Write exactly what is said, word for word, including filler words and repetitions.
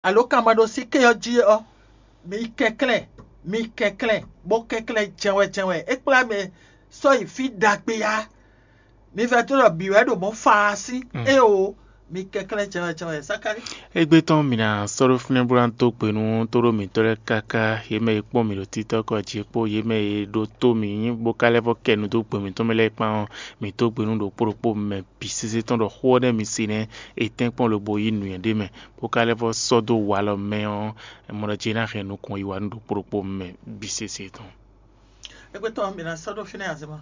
Alo kan ma ɖo sí ké ɔ́ jí ɔ́, mi kɛnklɛ́n, mi kɛnklɛ́n, bó kɛnklɛ́n jɛnwɛ jɛnwɛ. É kplá mi sɔ́ yi fí ɖagbe ya. Mi vɛ tó ɖɔ bǐ wɛ ɖo mɔ̌ fa sín. Éeǒ, mi kɛnklɛ́n jɛnwɛ jɛnwɛ. Sakáli. Égbé tɔn mǐ ná sɔ́ ɖó fínɛ́ bó ná dó gbe nú tóɖó mǐtɔn lɛ́ɛ káká, yě mɛ e kpɔ́n mǐ ɖo títɔ́ kɔ jí kpó yě mɛ e ɖó tó mǐ bó ka lɛ́ vɔ́ kɛ nu dó gbe mǐtɔn mɛ lɛ́ɛ kpán ɔ́, mǐ dó gbe nú ɖokpó ɖokpó mɛ bǐ sésé tɔn ɖɔ xó ɔ́ nɛ́ mi se nɛ́, è tɛ́nkpɔ́n lobo yí nǔnywɛ́ ɖé mɛ, bó ka lɛ́ vɔ́ sɔ́ dó walɔ mɛ ɔ́, mɔ ɖɔ jí é ná hɛn nukɔn yi wá nú ɖokpó ɖokpó mɛ bǐ sésé tɔn. Égbé tɔn mǐ ná sɔ́ ɖó fínɛ́ azema.